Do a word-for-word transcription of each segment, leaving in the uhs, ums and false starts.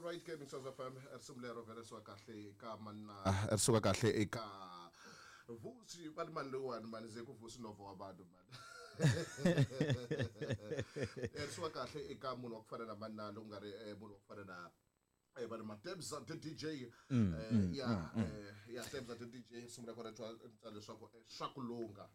Alright ke Mixers F M risimu lero vele suka kahle eka manna risuka kahle eka Vusi vali mani lowani mani ze ku Vusi novo wa vanhu mani risuka kahle eka munhu wa ku fana na manna loku nga ri munhu wa ku fana na eh bana Matebza the D J ya ya Tebza the D J risimu ra kona twa leswaku swa ku lunga.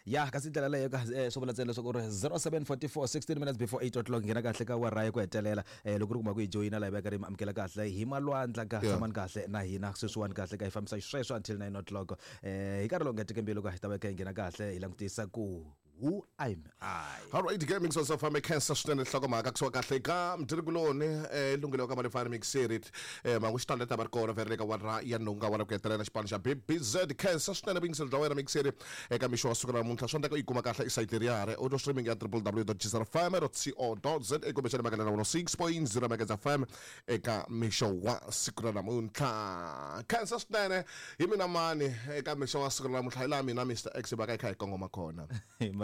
Ya kasi ndlela leyo ka swo vula ntsena leswaku ri zero seven forty-four sixteen minutes before eight o'clock nghena kahle ka wara ku hetelela eh loko ri kuma ku hi joyina la hi veka ri amukela kahle hi malwandla ka tshama kahle na hina sweswiwani kahle ka hi fambisa xisweswo until nine o'clock eh hi nkarhi lowu nga teke mbilu ka hi ta veka hi nghena kahle hi langutisa ku who am I. All right, gaming so so fam cancer swinene nhlokomhaka kusuka kahle ka mdirikuloni eh lunghelo ka malefana mixerit eh mangu xitalo ta barkona vele ka wara ya nunga wara ku hetelela xipano xa B B Z cancer swinene bingiselo bya wena mixeri eka mixo wa siku ra namuntlha swi endleka u yi kuma kahle isayiti leriya audio streaming ya w w w dot g z f m dot co dot z a kumbexana makalana one oh six point zero Megahertz F M eka mixo wa siku ra namuntlha. Cancer swinene hi mina mani eka mixo wa siku ra namuntlha hi laha mina Mister X va ka hi kha hi kongoma kona.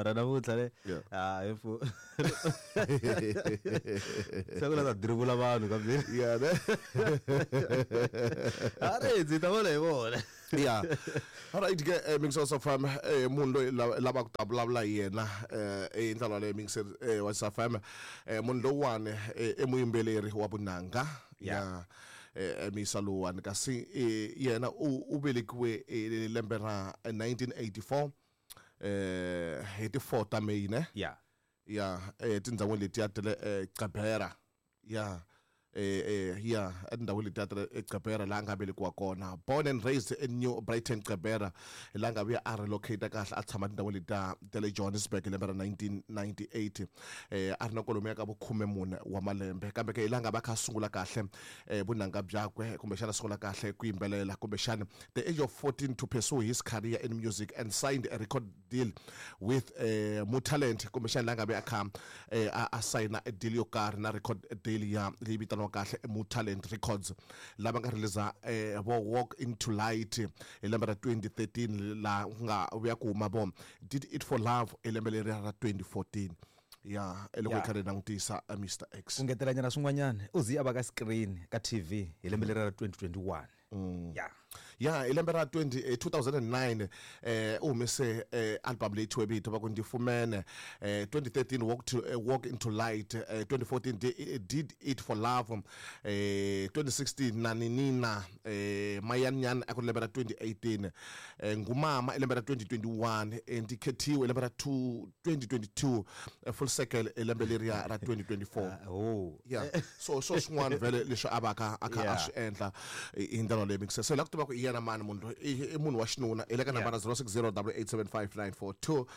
Mara namuntlha le ah ifu se ku la ta dribula vanhu kambe yeah ne are ndzi ta vona hi vona yeah all right ke Mixers F M eh munhu loyi lava ku ta vulavula hi yena eh ndlela leyi Mixers wa F M eh munhu lowani i muyimbeleri wa vunanga ya eh Misa lowani kasi yena u velekiwe lembe ra nineteen eighty-four eh hi ti four ta May ne yeah yeah eh tindhawini letiya ta le Gqeberha yeah eh eh yeah etindhawini letiya ta le Gqeberha laha nga velekiwa kona, born and raised in New Brighton Gqeberha laha nga vuya a relocate kahle a tshama tindhawini letiya ta le Johannesburg lembe ra nineteen ninety-eight eh a ri na kwalomuya ka vukhume mune wa malembe kambe ke hi laha nga va kha sungula kahle eh vunanga byakwe kumbexana sungula kahle ku yimbelela kumbexana the age of fourteen to pursue his career in music and signed a record deal with eh Mutalent kumbexana laha nga ve a kha a sign a deal yo karhi na record deal ya leyi vitaniwa kahle Mutalent Records lava nga release eh vo Walk Into Light hi lembe ra twenty thirteen la nga vuya ku huma vo Did It For Love hi lembe leri ra twenty fourteen ya eloko hi karhi langutisa Mister X ku ngetelanyana swin'wanyana u zi a va ka screen ka T V hi lembe leri ra twenty twenty-one yeah yeah hi lembe ra twenty two thousand nine eh u humese album leyi thyiwe vito va ku Ndifumene eh twenty thirteen Walk to uh, Walk Into Light eh, twenty fourteen Did It For Love eh twenty sixteen Naninina eh Mayanyan a ku lembe ra twenty eighteen eh, Ngumama lembe ra twenty twenty-one Ndikhethiwe lembe ra twenty twenty-two Full Circle lembe leriya ra twenty twenty-four oh yeah so so swin'wana vele leswi a va ka a kha a swi endla hi ndlela leyi mixer se la ku tiva ku i yena mani munhu i munhu wa xinuna i le ka nambara zero six zero eight seven five nine four two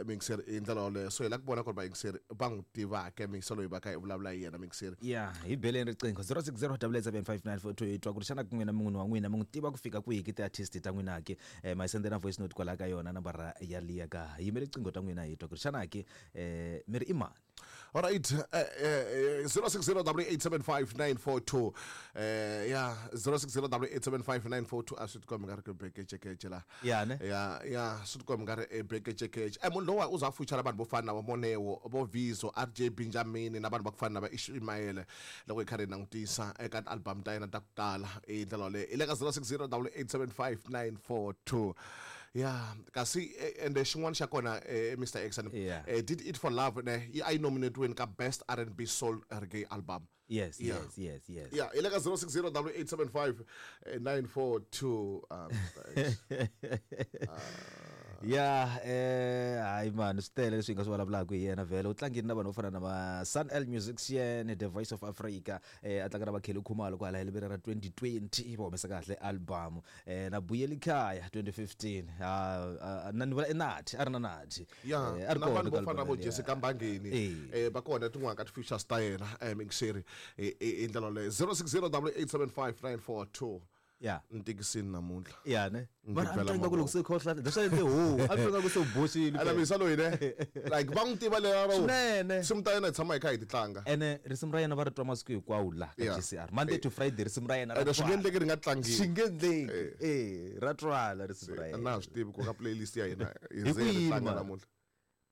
mixer i ndlela yoleyo so hi la ku vona ku ri vayingiseri va n'wi tivaka mixer loyi va ka hi vulavula hi yena mixer yeah hi beleni riqingho zero six zero eight seven five nine four two hi twa ku ri xana ku n'wina munhu wa n'wina mi n'wi tiva ku fika kwihi ki ti-artist ta n'wina ke ma hi sendela voice note kwalaha ka yona nambara ya liya ka yimele riqingho ta n'wina hi twa ku ri xana ke mi ri i mani. All right, uh, uh, zero six zero eight seven five nine four two. Uh, yeah, zero six zero eight seven five nine four two. Aswi tikomba nga ri ku bekecekece la. Yeah, ne? Yeah, yeah, swi tikomba nga ri bekecekece. Eh, munhu lowa u za future vanhu vo fana na va Moneo, vo Vizo, R J Benjamin na vanhu va ku fana na va Ishmael loko hi karhi hi langutisa eka album ta yena ta ku tala hi ndlela yoleyo. I le ka zero six zero eight seven five nine four two. Yeah, kasi ende xin'wana xa kona Mister X yeah. Did It For Love ne I nominated win ka Best R and B Soul Reggae Album. Yes, yeah. yes, yes, yes. Yeah, i le ka zero six zero eight seven five nine four two um uh, yeah, eh hayi man, swi tele leswi hi nga swi vulavulaka hi yena vhele u tlangile na vanhu vo fana na va Sun L Musician, The Voice of Africa, eh a tlanga na va Kelly Khumalo kwala hi lembe ra twenty twenty va humesa kahle album eh na Buyeli Khaya twenty fifteen ah na ni vula Nathi a ri na Nathi yeah, a ri na kona vanhu vo fana na vo Jessica Mbangeni eh va kona tin'wana ka ti-features ta yena eh mixeri hi ndlela yoleyo zero six zero eight seven five nine four two yeah ntikisini namuntlha yeah ne mara a twa ku loko se khohla leswi endle ho a twa ku se boxile ala misa loyi ne like va n'wi tiva lero swinene risimu ta yena hi tshama hi kha hi ti tlanga ene risimu ra yena va ri twa masiku hinkwawo la ka G C R Monday to Friday risimu ra yena ra swi nge endleki ri nga tlangiwi swi nge endleki eh ra twala risimu ra yena na swi tivi ku ka playlist ya hina hi ze ri tlanga namuntlha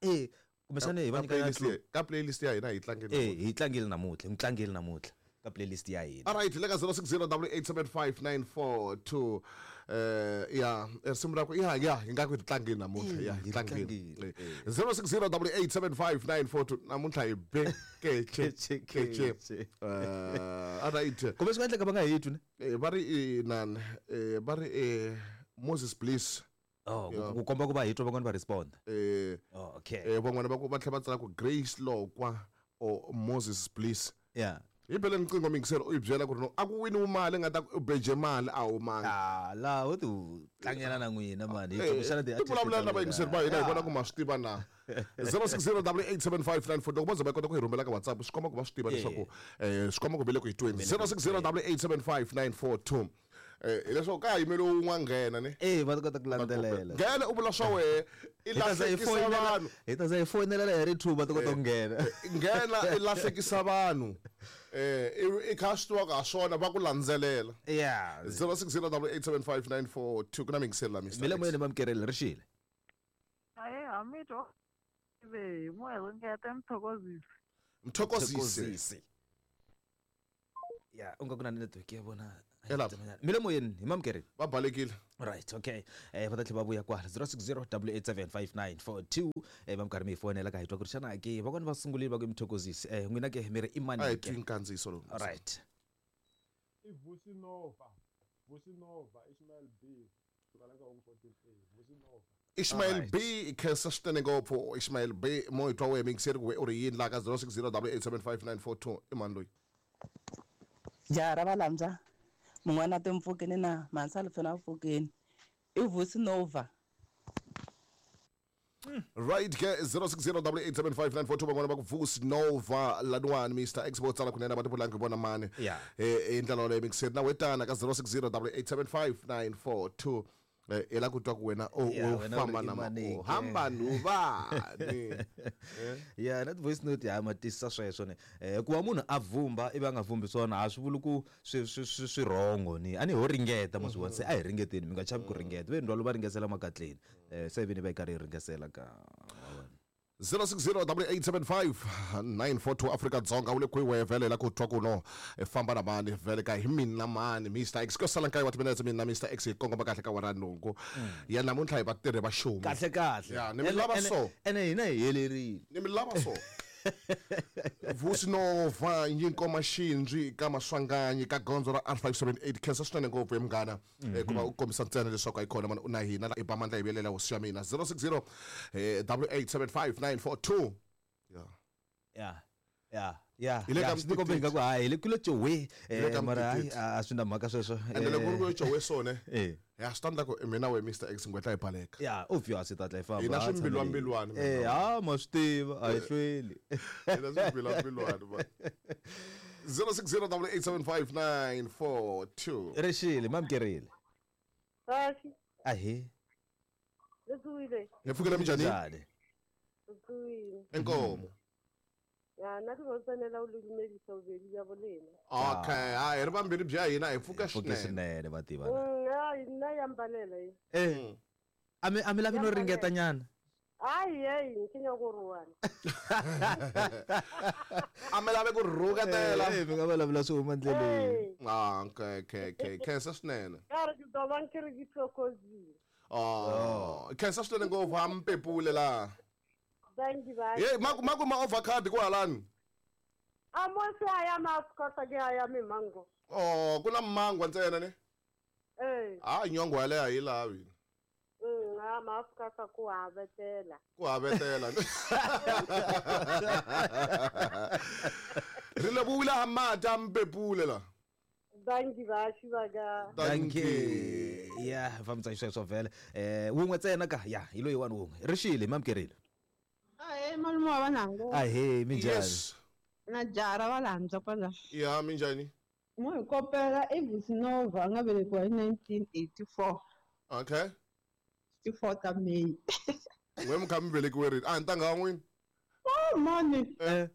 eh kumbexana hi va nyika ka playlist ya hina hi tlangile eh hi tlangile namuntlha hi tlangile namuntlha ka playlist ya hina. All right, le ka zero six zero double eight seven five nine four two eh ya risimu ra ku ya ya hi nga ku tlangeni namuntlha ya hi tlangeni zero six zero double eight seven five nine four two namuntlha hi be keche keche eh all right kumbe swi nga endleka va nga hi twi ne eh va ri nani eh va ri eh Moses Bliss. Oh, ku komba ku va hi twa van'wana va respond. Eh oh, okay. Eh van'wana va ku va tlhela va tsala ku Grace Lokwa or Moses Bliss. Yeah. Hi bele nqingho mingiselo u yi byela ku ri no a ku wini mali nga ta ku beje mali a wu mali. Ah, la u ti tlangela na n'wina mani. Hi tsundzuxana ti vulavula na vayingiseri va hina hi vona ku ma swi tiva na zero six zero double eight seven five nine four loko va ze va kota ku hi rhumela ka WhatsApp swi komba ku va swi tiva leswaku eh swi komba ku ve le ku hi tweni zero six zero double eight seven five nine four two. Eh leswaku ka yimele un'wana nghena ne eh va ta kota ku landzelela nghena u vula swa wehe i lahlekisa vanhu hi ta za hi foyinela hi ri two va ta kota ku nghena nghena i lahlekisa vanhu eh i kha swi tiva ka swona va ku landzelela yeah zero six zero double eight seven five nine four two ku na mingisela Mister Mile moyeni mamkerele ri xile aye hamito be moya ringeta mthokozisi mthokozisi ya unga ku na network ya vona mile moyeni hi mamkerele va balekile right okay eh va ta tlhela va vuya kwala zero six zero double eight seven five nine four two eh va minkarhi mi hi fonela ka hi twa ku ri xana ke van'wana va sungurile va ku mthokozisi eh n'wina ke mi ri i mani a hi twi nkandziyiso lowu right i Vusi Nova Vusi Nova Ishmael B sukela ka one forty-three Vusi Nova Ishmael B khensa swinene ngopfu Ishmael B mo hi twa wehe mingiseri ku we u ri yini laha ka zero six zero double eight seven five nine four two i mani loyi jara va landza mun'wana timpfukeni na mansalo fena pfukeni i Vusi Nova right ke zero six zero double eight seven five nine four two van'wana va ku Vusi Nova laniwani Mister X vo tsala kunene va ti vulangi vona mani yeah eh hi ndlela yoleyo mingiseri na wetana ka zero six zero double eight seven five nine four two eh i la ku twa ku wena u famba na u hamba nuvani ya na voice note ya ma tisa sweswo ne eh ku va munhu a vumba ivi a nga vumbi swona a swi vuli ku swi swi swi wrong ni a ni ho ringeta mo swi vona se a hi ringeteni mi nga chavi ku ringeta ve ndwalo va ringesela makatleni eh se vini va yi karhi yi ringesela ka zero six zero double eight seven five nine four two Afrika Dzonga u le kwihi wehe vhele la ku twa ku no famba na mani vhele ka hi mina mani Mister X ko sala nkaye wa timinetse mina Mister X hi kongoma kahle ka wara nhungu ya namuntlha hi vatirhi va xumi kahle kahle ya ni mi lava so ene hina hi helerile ni mi lava so Vusi Nova Nyinkoma Xindzi ka Maswanganyi ka gondzo ra R five seven eight khensa swinene ngopfu hi munghana ku va u kombisa ntsena leswaku a yi kona mani u na hina i ba mandla hi vuyelela hosi ya mina zero six zero double eight seven five nine four two yeah yeah yeah yeah yeah swi tikombe nga ku hayi le kule Jowe eh mara hayi a swi na mhaka sweswo ende loko ku ri Jowe swona eh ya swi ta ku mina we Mister X ngwetla hi baleka yeah obvious ta tla hi famba hina swimbilwambilwani eh ha ma swi tiva a hi hlweli hina swimbilwambilwani ba zero six zero double eight seven five nine four two rexile mamkerile Kahle ahe le hi pfukile minjhani Tsuwile inkomo ya na ke tsanela u lumedisa bobedi bja bolena okay ha hi ri vambirhi bya hina hi pfuka pfuke swinene swinene va tiva ya nna ya mbalela yi eh a mi a mi lavi no ringeta nyana hayi hey ke nyaka go ruana a mi lavi ku rhuketela eh mi nga vulavula swi huma ndleleni ah okay okay okay khensa swinene ka re ke tobang ke re ke thokozile oh khensa swinene ngopfu a mi pepule laha thank you bye hey maku maku ma avocado kwalani a mo se a ya maskota ke a ya mimango oh ku na mangwa ntsena ne eh ah nyongo yaleyo a yi lavi mm a maskota ku havetela ku havetela ri lebohile ha mati a mpepule la thank you ba xivaka thank you ya fambisa xisweswo vhele eh wun'we ntsena ka ya hi loyi wani wun'we rixile mamkerile ahe malume wa vanango ahe minjhani yes na jara va landza kwala ya minjhani mo hi kopela i Vusi Nova a nga velekiwa hi nineteen eighty-four okay sixty-four ta May n'we mi kha mi velekiwe rini a ntangha wa n'wina oh mani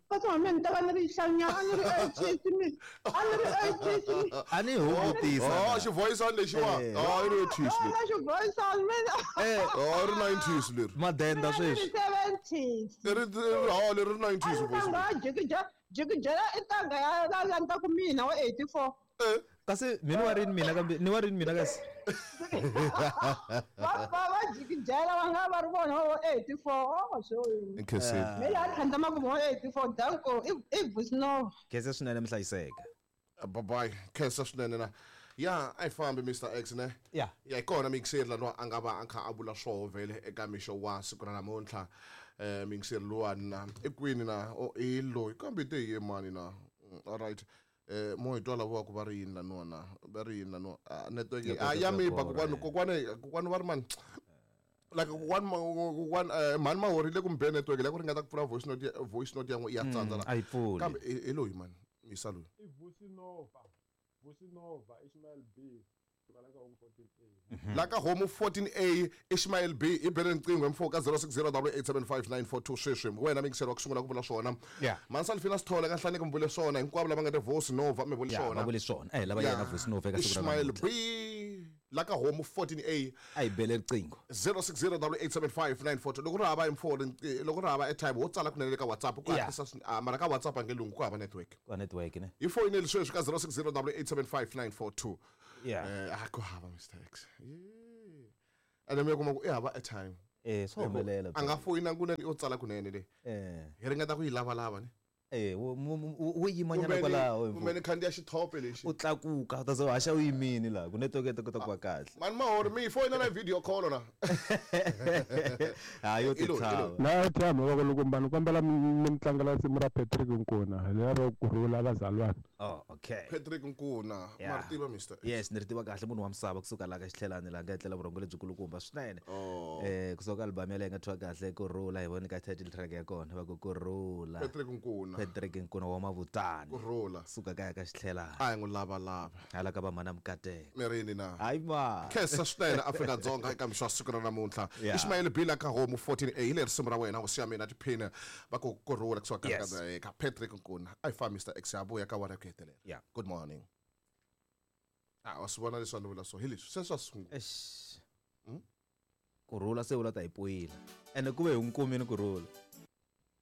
kasi wa mina ni ta va ni ri hlanyana a ni ri eighties mi a ni ri eighties mi a ni hungutisa oh xivoyisani lexiwa oh i ri eighties leri na xivoyisani mina eh oh ri nineties leri madenda a ni ri sweswi seventies ri oh leri ri nineties voice ntangha jiki Jikijela i ntanga ya la landzaku mina wa eighty-four. Kasi mina wa rini mina kambe ni wa rini mina kasi. Va va va jikijela va nga va ri vona wa eighty-four. Oh so. Nkhensile. Me la tlhandlama ku wa eighty-four danko i i Vusinova. Khensa swinene mihlayiseka. Bye bye. Khensa swinene na. Ya a yi fambi Mister X ne. Ya. Ya hi kona mixer la no a nga va a kha a vula swoho vhele eka mixo wa siku ra namuntlha. Eh mixer luwani na i kwini na o i loyi kambe te hi mani na. All right. Eh mo hi twa lava ku va ri yini laniwa na va ri yini laniwa network a ya mi ba kokwani kokwani kokwani va ri mani like kokwani kokwani mhani mahorile kumbe network la ku ringeta ku pfula voice note voice note ya n'we ya tsandza la a yi pfuli kambe hi loyi mani misa loyi i Vusinova Vusinova Ishmael B fourteen A la ka home fourteen A Ishmael B i bele riqingho mfo ka zero six zero eight seven five nine four two sweswi wena mingiselo wa ku sungula ku vula swona Mansalfina Sithole ka nhlaneke mi vule swona hinkwavo lava nga te Vusinova mi vule swona va vule swona eh lava yena Vusinova eka siku ra Ishmael B la ka home fourteen A a yi bele riqingho zero six zero eight seven five nine four two loko ri hava mfo loko ri hava airtime wo tsala kunene ka WhatsApp ku hatlisa mara ka WhatsApp a nge lunghi ku hava network ka network ne hi foyineli sweswi ka zero six zero eight seven five nine four two Yeah. Eh a ku hava Mister X. Yeah. Ene me kuma ku i hava airtime. Eh swo humelela. A nga foyina kunene yo tsala kunene le. Eh. Hi ringeta ku yi lava lava ne. Eh wo yimanyana kwalaho. Kumbe ni khandziya xithope lexi. U tlakuka u ta ze haxa u yimini la ku network yi ta kota ku va kahle. Mani mahori mi foyina na video call na. Ha yo titshava. Na airtime va loko mbani kombela mi tlangela nsimu ra Patrick Nkuna lero kurhula vazalwana. Oh okay. Patrick Nkuna ma ri tiva Mister X. Yes ni ri tiva kahle munhu wa misava kusuka la ka xitlhelani la nga etlela vurhongo lebyikulukumba swinene. Eh kusuka album ya leyi nga thyiwa kahle kurhula hi voni ka title track ya kona va ku kurhula. Patrick Nkuna. Patrick Nkuna wa Mavutani. Kurhula. Suka kaya ka xitlhelani. A hi n'wi lava lava. Hala ka va mhana Mukateka. Mirini na. Hayi ma. Khensa swinene Afrika Dzonga eka mixo wa siku ra namuntlha. Ishmael B la ka home fourteen A hi le risimu ra wena hosi ya mina tiphina va ku kurhula kusuka ka ka Patrick Nkuna. A hi fambi Mister X ya vuya ka wara ku hetelela. Yeah. Good morning. Ah wa swi vona leswi a ni vula so hi leswi se swa sungula. Eish. Kurhula se vula ta hi poyila. Ene ku ve hi n'wi kumile kurhula.